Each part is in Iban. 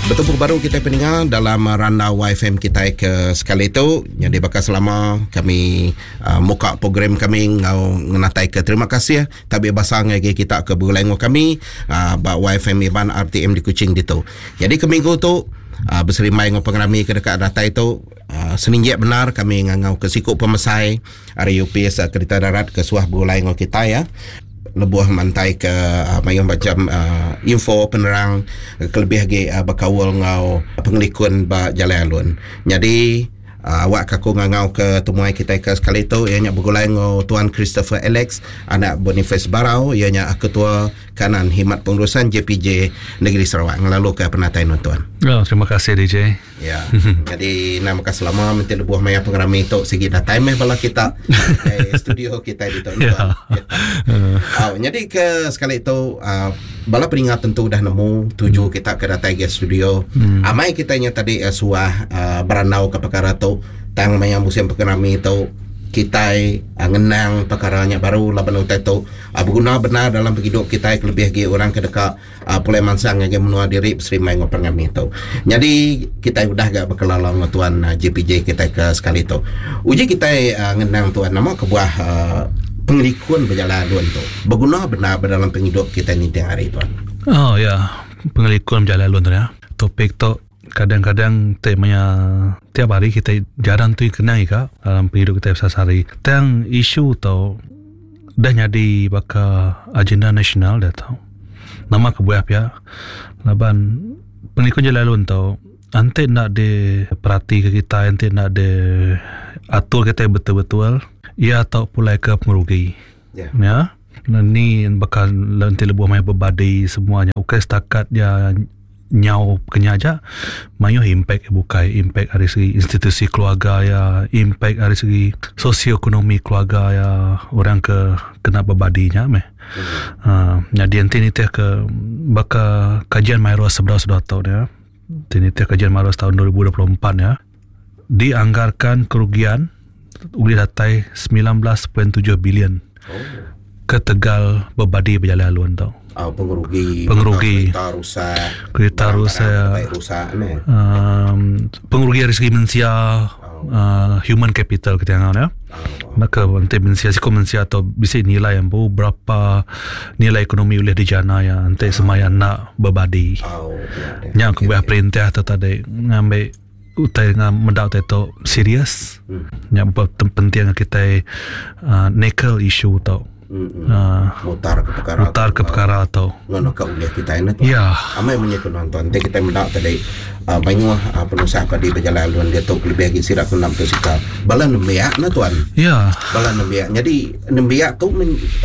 Betubuh baru kita peninga dalam randau YFM kita ke sekali tu. Jadi bakal selama kami uh, muka program kami ngau ngenatai ke terima kasih tabi basa ngagai kita ke begulai ngau kami uh, ba YFM Iban RTM di Kuching ditu. Jadi ke minggu tu uh, berserimbai ngau pengerami ke dekat datai tu uh, seninjik benar kami ngangau ke siku pemesai Ari opis kerita darat ke suah begulai enggau kitai ya lebuh mantai ke mayuh macam info penerang kelebih agi bekaul enggau pengelikun ba jalai alun. Nyadi awak ke aku ngangau ke temuai kitai ke sekali tu iya nya begulai enggau Tuan Christopher Alex anak Boniface Barau iya nya Ketua Kanan Khidmat Pengurusan JPJ Negeri Sarawak ngelalu ke penatai nuan tuan. Oh, terima kasih DJ. Ya. Jadi nama ka selama menti lebuh maya pengerami tu sigi datai meh bala kita ke studio kita ditu ya. Ya. Oh, jadi ke sekali tu uh, bala peninga tentu dah nemu tuju hmm. kita ke datai ke studio. Hmm. Amai kita nya tadi uh, suah uh, berandau ke perkara tu tang maya musim pengerami tu kitai uh, ngenang perkara nya baru laban utai tu uh, berguna benar dalam pengidup kitai kelebih agi orang ke deka pulai mansang ngagai menua diri beserimbai enggau pengerami tu. Nyadi kitai udah ga bekelala enggau tuan JPJ kitai ke sekali tu. Uji kitai ngenang tuan nama kebuah pengelikun bejalai alun tu beguna bendar ba dalam pengidup kitai ninting hari tuan. Oh ya, pengelikun bejalai alun tu ya. Topik tu kadang-kadang ti maya tiap hari kitai jarang tu kena ika dalam pengidup kitai besehari-sehari. Tang isu tu udah nyadi baka agenda nasional diatu. Nama kebuah pia laban pengelikun jalai alun tu enti enda diperatika kitai enti enda diatur kitai betul-betul iya tau pulai ke pengerugi. Ya. Ni baka enti lebuh maya bebadi semua nya ukai setakat iya nyau kenya aja mayuh impact bukai impact ari segi institusi keluarga iya impact ari segi sosioekonomi keluarga iya orang ke kena bebadi nya meh um nyadi enti nitih ke baka kajian Myros sebedau sebedau tu nya enti nitih kajian Myros taun 2024 nya dianggarkan kerugian ulih datai 19.7 bilion. Ketegal bebadi bejalai alun tu. Oh, pengerugi, pengerugi kereta rusak, kereta rusak, rusak ne. Um, pengerugi dari segi mensia, oh. uh, human capital kita ngau ya. Oh. Maka enti mensia siku mensia tu bisi nilai yang bu berapa nilai ekonomi ulih dijana ya enti oh. semaya nak bebadi. Oh, ya, Nya aku okay, perintah tu tadi ngambil utai ngam meda utai tu serius nya penting kitai uhh nakel isu tu uhh mutar ke perkara mutar ke perkara tu ngono ka ulih kitai ne tuan ya amai munyi ku nuan tuan enti kitai meda tadi uhh mayuh penusah padi bejalai alun diatu kelebih agi sida ke enda betusikal bala nembiak ne tuan ya bala nembiak nyadi nembiak tu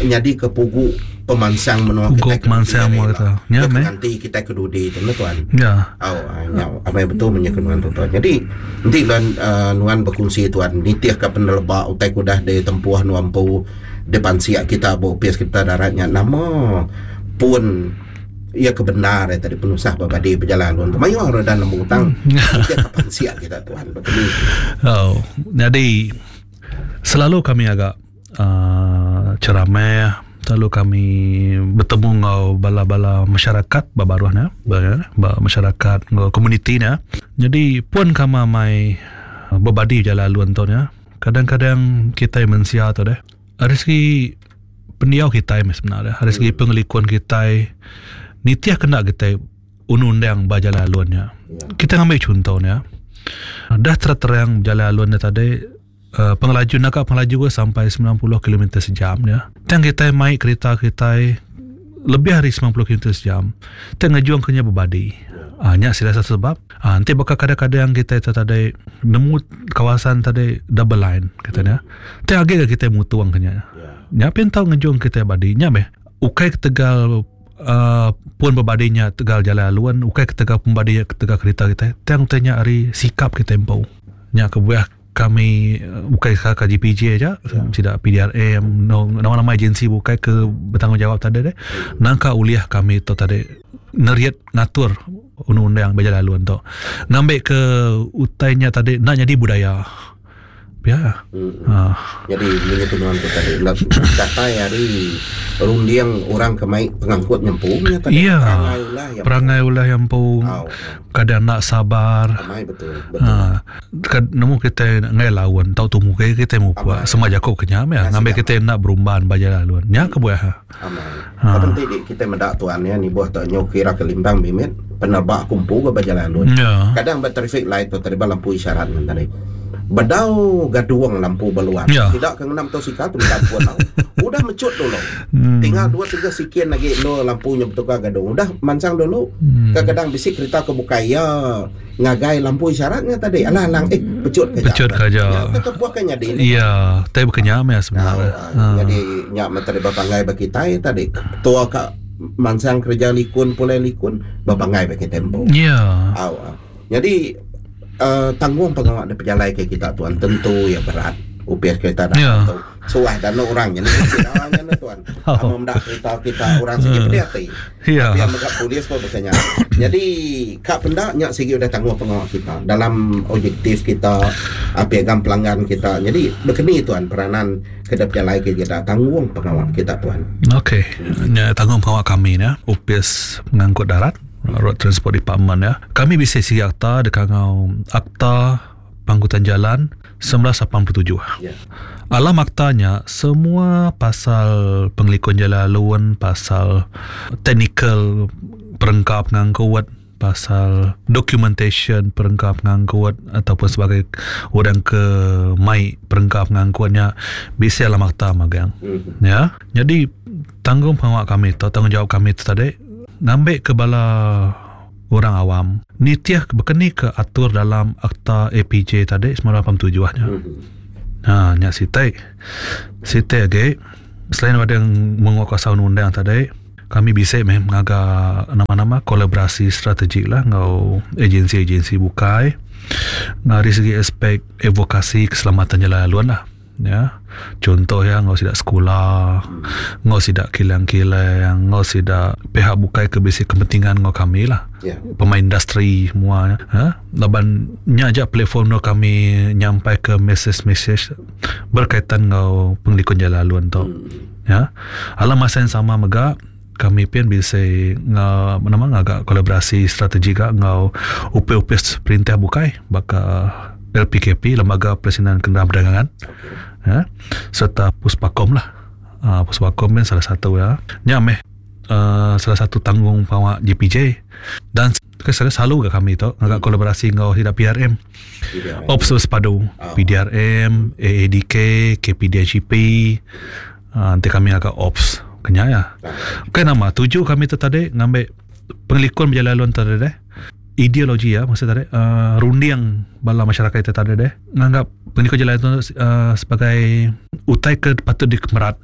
nyadi ke pugu pemansang menua kitai ke pemansang menua kita. Nya meh. Nganti kitai ke dudi tu ne tuan. Ya. Au nya amai betul menya ke nuan tu tuan. Jadi enti nuan uh, nuan bekunsi tuan nitih ka peneleba utai ke udah ditempuh nuan empu dipansik kita ba opis kita darat nya nama pun iya ke bendar tadi penusah ba badi bejalai alun tu mayuh orang dah nemu tang nitih ka pansik kita tuan betul. Oh, jadi selalu kami agak uhh ceramah lalu kami betemu enggau bala-bala masyarakat ba baruh ne ba masyarakat enggau komuniti ne. Jadi pun kami amai bebadi jalai alun tu ne kadang-kadang kitai mensia tu deh ari segi pendiau kitai meh sebenar ari segi pengelikun kitai nitih kena kitai undang-undang ba jalai alun nya. Kitai ngambi chunto ne dah terang-terang jalai alun ne tadi. Pengelaju naka pengelaju ke sampai 90 kilometer sejam nya. Tang kitai mai kerita kitai lebih ari 90 kilometer sejam. Tang ngejung ke nya bebadi. Ah nya sila satu sebab. Ah enti baka kadang-kadang kitai tu tadi nemu kawasan tadi double line kata nya. Tang agi ga kitai mutung ke nya. Nya pin tau ngejung kitai badi. Nya meh ukai ketegal uhh pun bebadi nya tegal jalai alun, ukai ketegal pun bebadi nya ketegal kerita kitai. Tang utai nya ari sikap kitai empu. Nya kebuah Kami bukai ka JPJ aja sida PDRM nama-nama agensi bukai ke betanggungjawab tadi deh nangka ulih kami tu tadi nerit ngatur undang-undang ba jalai alun tu ngambi ke utai nya tadi enda nyadi budaya. Pia. Hmm. Ha. Jadi munyi ku nuan tu tadi enda datai ari runding orang ke mai pengangkut nya empu nya tadi. Iya. Perangai ulah iya empu. Perangai ulah iya empu. Au. Kadang enda sabar. Amai betul. Betul. Ha. Kad nemu kitai enggai laun tau tumu ke kitai mupuk Amai. sema jaku ke nya meh ngambi Ngasih kitai enda berumban ba jalai alun. Nya kebuah. Amai. Ha. Laban ti di kitai meda tuan iya nibuh tu nyau kira ke limbang mimit peneba aku empu ga ba jalai alun. Ya. Kadang ba traffic light tu tadi ba lampu isyarat ngan tadi. Bedau gadung lampu ba luar. Ya. Sida ke ngena motosikal tu minta ampun tau. Udah mecut dulu. Hmm. Tinggal dua tiga sikin agi endur lampu nya betukar gadung. Udah mansang dulu. Hmm. Kadang-kadang bisi kereta ke bukai iya ngagai lampu isyarat nya tadi. Alah alang eh pecut ke aja. Pecut ke aja. Nya ke kebuah ke nyadi ni. Ya, tai bukan nya meh Tau, sebenarnya. ah, jadi nya menteri bepanggai ba kitai tadi. Ketua ka mansang kerja likun pulai likun bepanggai ba kitai empu. Ya. Au. ah. Jadi uh, tanggung pengawa dipejalaika kita tuan tentu iya berat. Upis kereta darat Ya. tu. Suah danu orang nya ni kira nya ni tuan. Oh. Amo meda kereta kita orang sigi pedih ati. Ya. Pia mega polis pun baka nya. Jadi ka penda nya sigi udah tanggung pengawa kita dalam objektif kita ah, piagam pelanggan kita. Jadi bekeni tuan peranan ke dipejalaika kita tanggung pengawa kita tuan. Okey. Nya tanggung pengawa kami nya Opis Pengangkut Darat. Road Transport Department ya. Kami bisi sigi akta deka ngau Akta Pengangkutan Jalan 1987. Ya. Alam akta nya semua pasal pengelikun jalan alun, pasal teknikal perengka pengangkut, pasal documentation perengka pengangkut ataupun sebagai orang ke mai perengka pengangkut nya bisi alam akta magang. Mhm. Ya. Jadi tanggung pengawa kami tu, tanggungjawab kami tu tadi ngambi ke bala orang awam nitih bekeni ke atur dalam akta APJ tadi 1987 nya. Mhm. Ha nya siti. Siti agi selain daripada menguatkuasa undang-undang tadi kami bisi meh ngaga nama-nama kolaborasi strategik lah enggau agensi-agensi bukai ari segi aspek advokasi keselamatan jalai alun lah. Ya. Contoh ya enggau sida sekula, enggau sida kilang-kilang, enggau sida pihak bukai ke bisi kepentingan enggau kami lah. Ya. Pemain industri semua ya. Laban nya aja platform endur kami nyampai ke mesej-mesej berkaitan enggau pengelikun jalai alun tu. Ya. Alam masa yang sama mega kami pun bisi enggau nama ngaga kolaborasi strategi ga enggau upis-upis perintah bukai baka LPKP Lembaga Pelesenan Kenderaan Perdagangan ya, serta Puspakom lah. Puspakom ni salah satu ya. Nya meh salah satu tanggung pengawa JPJ dan selalu ga kami tu ngaga kolaborasi enggau sida PRM. Ops Bersepadu, PDRM, AADK, KPDNHEP. Enti kami ngaga ops kenya iya. Bukai nama tuju kami tu tadi ngambi pengelikun bejalai alun tadi deh. Ideologi iya maksud tadi uhh runding bala masyarakat ita tadi deh nganggap pengelikun jalai tu uhh sebagai utai ke patut dikemerat.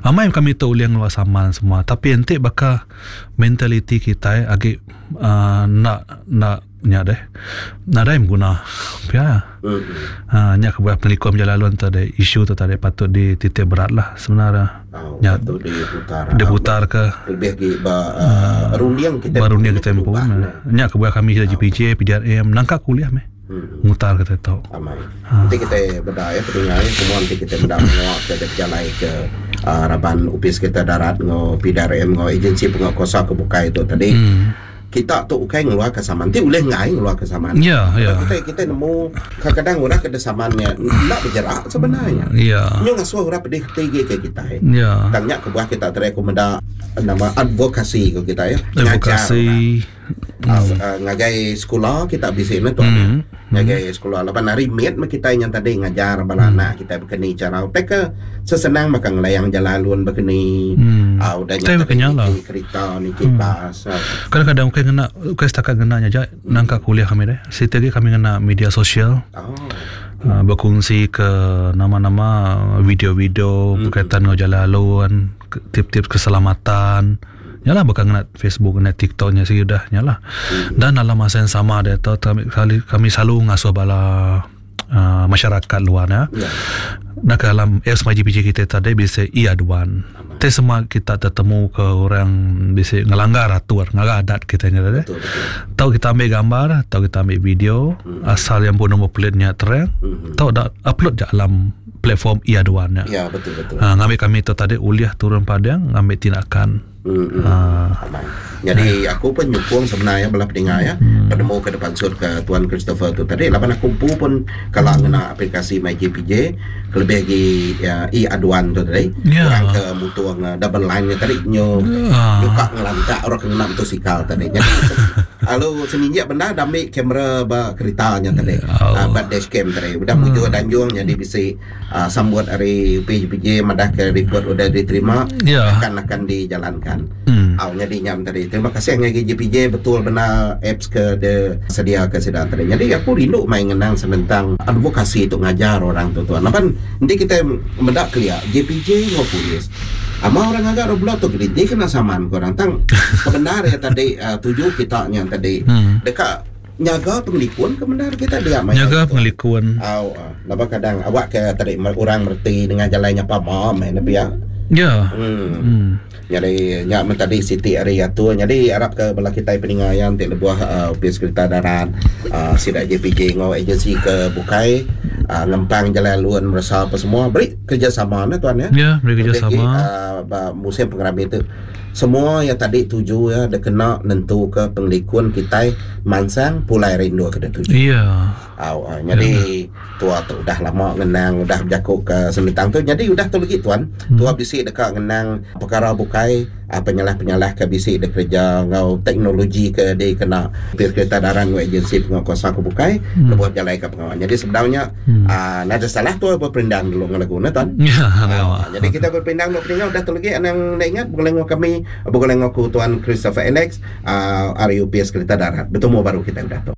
Amai kami tu ulih ngeluar saman semua tapi enti baka mentaliti kitai agi uhh enda enda Nya deh. Nadai beguna. Pia. Ha nya kebuah pengelikun bejalai alun tu deh isu tu tadi patut dititik berat lah sebenarnya. Oh, Nya patut diputar. Diputar ke. Lebih agi ba runding kita. Ba runding kita empu. Nya kebuah kami sida JPJ, PDRM nangka kuliah meh. Mutar ke tu. Amai. Enti kita beda ya pedinga ya semua enti kita meda menua ke bejalai ke raban opis kita darat enggau PDRM enggau agensi penguatkuasa ke bukai tu tadi. Kita tu ukai ngeluarka saman. Ti ulih enggai ngeluarka saman. Ya, ya. Kita kita nemu kadang-kadang orang ke saman nya enda bejerak sebenarnya. Ya. Nyu ngasuh orang pedih ati agi ke kitai. Ya. Tang nya kebuah kita tadi aku meda nama advokasi ko kita ya. Advokasi. Ngajar ngagai sekula kita bisi ne tuan. Ngagai sekula laban hari mit meh kitai nya tadi ngajar bala anak kitai bekeni chara utai ke sesenang baka ngelayang jalai alun bekeni aaa udah nya tadi niki kerita niki bas. Kadang-kadang ukai ngena ukai setakat ngena nya aja nangka kuliah kami deh. Siti agi kami ngena media sosial aaa bekongsi ke nama-nama video-video berkaitan enggau jalai alun tip-tip keselamatan. Nya lah baka ngena Facebook ngena TikTok nya sigi udah nya lah. Dan dalam masa yang sama diatu kami selalu ngasuh bala. uh, masyarakat luar ya. Ya. Nak dalam apps MyJPJ kita tadi bisa e-aduan. Te semua kita tertemu ke orang bisa ngelanggar atur, ngelanggar adat kita ni tadi. Betul betul. Tahu kita ambil gambar, tahu kita ambil video, asal yang pun nombor plate-nya terang, tahu dah upload je dalam platform e-aduan ya. Ya betul betul. Ha, ngambil kami tu tadi uliah turun padang ngambil tindakan. Hmm. Ha. Aman. Jadi aku pun nyukung sebenarnya belah pendengar ya. Penemu ke depan sur ke Tuan Christopher tu tadi laban aku pun pun kalau ngena aplikasi MyJPJ kelebih lagi ya, e-aduan tu tadi. Ya. Orang ke mutuang double line ni tadi nyo Ah. nyuka ngelantak orang kena motosikal tadi. Jadi lalu seminjak benda dah ambil kamera ba keretanya tadi. Oh. Ba dashcam tadi. Udah mujur danjung jadi bisi sambut hari UPJPJ madah ke report udah diterima Ya. akan akan dijalankan. Hmm. Au jadi nyam tadi. Terima kasih ngagai JPJ betul benar apps ke de sedia ke sedang tadi. Jadi aku rindu main ngenang tentang advokasi tu ngajar orang tu tuan. Lapan nanti kita mendak kelia JPJ ngau polis. Ama orang agak roblo tu gerinti kena saman korang tang kebenar ya tadi tuju kita nya tadi dekat nyaga pengelikun kebenar kita dia main Jaga tu. pengelikun. Au, laba kadang awak ke tadi orang merti dengan jalannya pamam eh tapi ya. Ya. Hmm. Jadi nyak men tadi Siti hari atu jadi harap ke bala kita peninga yang ti lebuah upis kereta darat sidak JPJ ngau agensi ke bukai ngempang jalan luan merasa apa semua beri kerjasama nah tuan ya. Ya, beri kerjasama. Lebih, musim pengerami itu semua yang tadi tuju ya dia kena nentu ke pengelikun kita mansang pulai rindu ke dia tuju. Ya. Au, jadi tua tu udah lama ngenang udah berjakuk ke sementang tu jadi udah tu lagi tuan tua bisi dekat ngenang perkara bukai penyalah-penyalah ke bisi de kerja ngau teknologi ke dia kena pihak kereta darat ngau agensi penguatkuasa ke bukai lebuh berjalan ke pengawal jadi sebenarnya nada salah tua berperindang dulu dengan lagu na tuan. Ya, Jadi kita berpindang dulu pendengar udah tu lagi anang nak ingat boleh ngau kami boleh ngau ku tuan Christopher Alex RUPS Kereta Darat bertemu baru kita udah tu.